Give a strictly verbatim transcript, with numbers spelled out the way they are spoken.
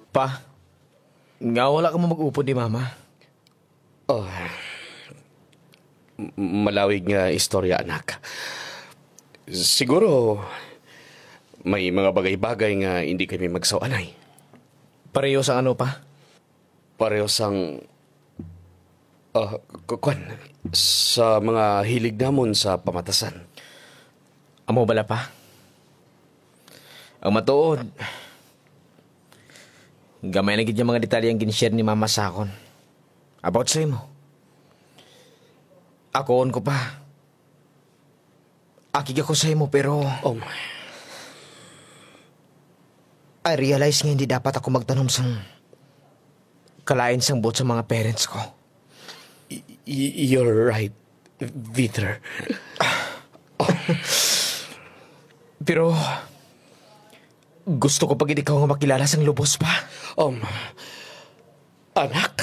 Pa, nga wala ka mo mag-upod ni Mama? Oh, m- malawig nga istorya, anak. Siguro, may mga bagay-bagay nga hindi kami magsawanay. Pareho sa ano, Pa? Pareho sang, ah, ku- kwan, sa mga hilig namon sa pamatasan. Amo bala, Pa? Ang matuod, gamay na gid nga mga detalye ang gin-share ni Mama sa akon about sa imo. Akoon ko, Pa. Akig ako sa imo, pero Um, I realize nga hindi dapat ako magtanom sang kalain sang buot sa mga parents ko. y- you're right, Peter. Pero gusto ko pa gid ikaw nga makilala sang lubos, Pa. Um, anak?